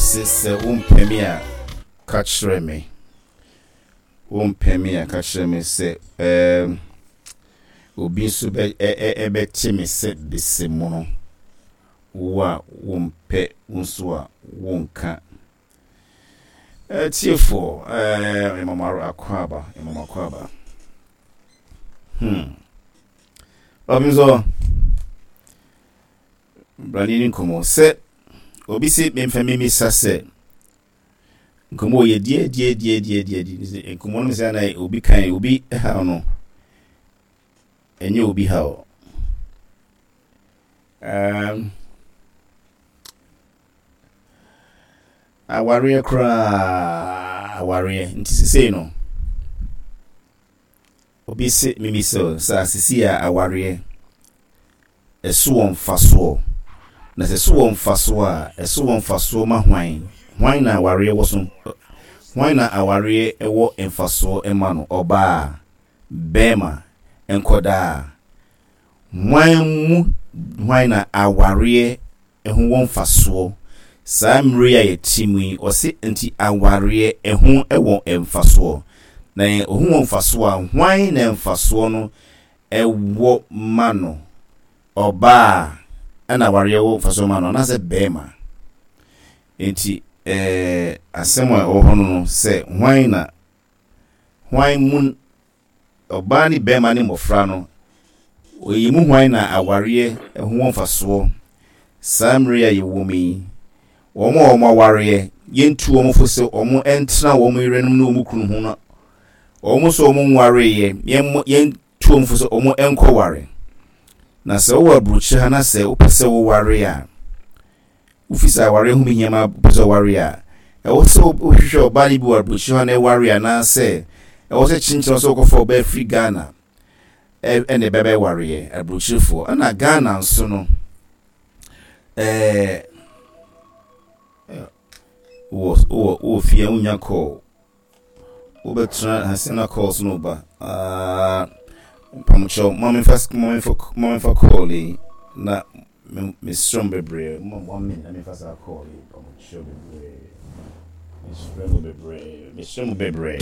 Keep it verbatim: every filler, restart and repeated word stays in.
Se sɛ wompɛ me a, ka kyerɛ me. Wompɛ me a, ka kyerɛ me sɛ ɛɛm obi nso bɛ ɛ ɛ ɛbɛte me sɛ besemono. Wo a wompɛ wo nso a wonka. Atiefoɔ, ɛɛ mema mo akwaaba, mema mo akwaaba. Hmm. Ɔbi nso brane ne nkɔmmɔ sɛ obi se memfa memisa sɛ nkɔmmɔ yɛ die die die die die die nkɔmmɔ no sɛ na obi kan obi haw no ɛnyɛ obi haw. Um, awareɛ koraa awareɛ nti sesei no obi se memisa sɛ asisi a awareɛ ɛso wɔ mfasoɔ na sɛ ɛso wɔ mfasoɔ a ɛso wɔ mfasoɔ ma hwan hwan na awareɛ wɔ so hwan na awareɛ ɛwɔ mfasoɔ ma no ɔbaa bɛrima nkɔdaa hwan mu hwan na awareɛ ɛho wɔ mfasoɔ saa mmerɛ a yɛte mu yi ɔse nti awareɛ ɛho ɛwɔ mfasoɔ na ɛho wɔ mfasoɔ a hwan na mfasoɔ no ɛwɔ ma no ɔbaa ɛna awareɛ wɔ mfasoɔ ma no anaasɛ bɛrima nti ɛɛ asɛm a ɛwɔ hɔ no no sɛ hwan na hwan mu ɔbaa ne bɛrima ne mmɔfra no oyi mu hwan na awareɛ ɛho wɔ mfasoɔ saa mmerɛ a yɛwɔ mu yi wɔn a wɔn awareɛ yɛntu wɔn fo sɛ wɔn ntena wɔn yerenom ne wɔn kunu ho no wɔn nso wɔn nwareeɛ yɛn yɛntu wɔn fo sɛ wɔn nkɔware na sɛ wowɔ aburokyire ha na sɛ wopɛ sɛ woware a wofi sɛ awareɛ ho behia ma wopɛ sɛ woware a ɛwɔ sɛ wohwehwɛ ɔbaa no bi wɔ aburokyire ha na ɛware anaasɛ ɛwɔ sɛ kyenkyerɛ sɛ wokɔfa ɔbaa firi ghana ɛna ɛbɛbɛwareɛ aburokyirefoɔ ɛna ghana nso no ɛɛ wɔ wɔ wɔ fie wonya call wobɛtena ase na calls no ba aa mpamokyɛw ma memfa ma memfa ma memfa call yi na mesrɛ mo bebree mo one minute na memfa saa call yi mpamokyɛw bebree mesrɛ mo bebree mesrɛ mo bebree.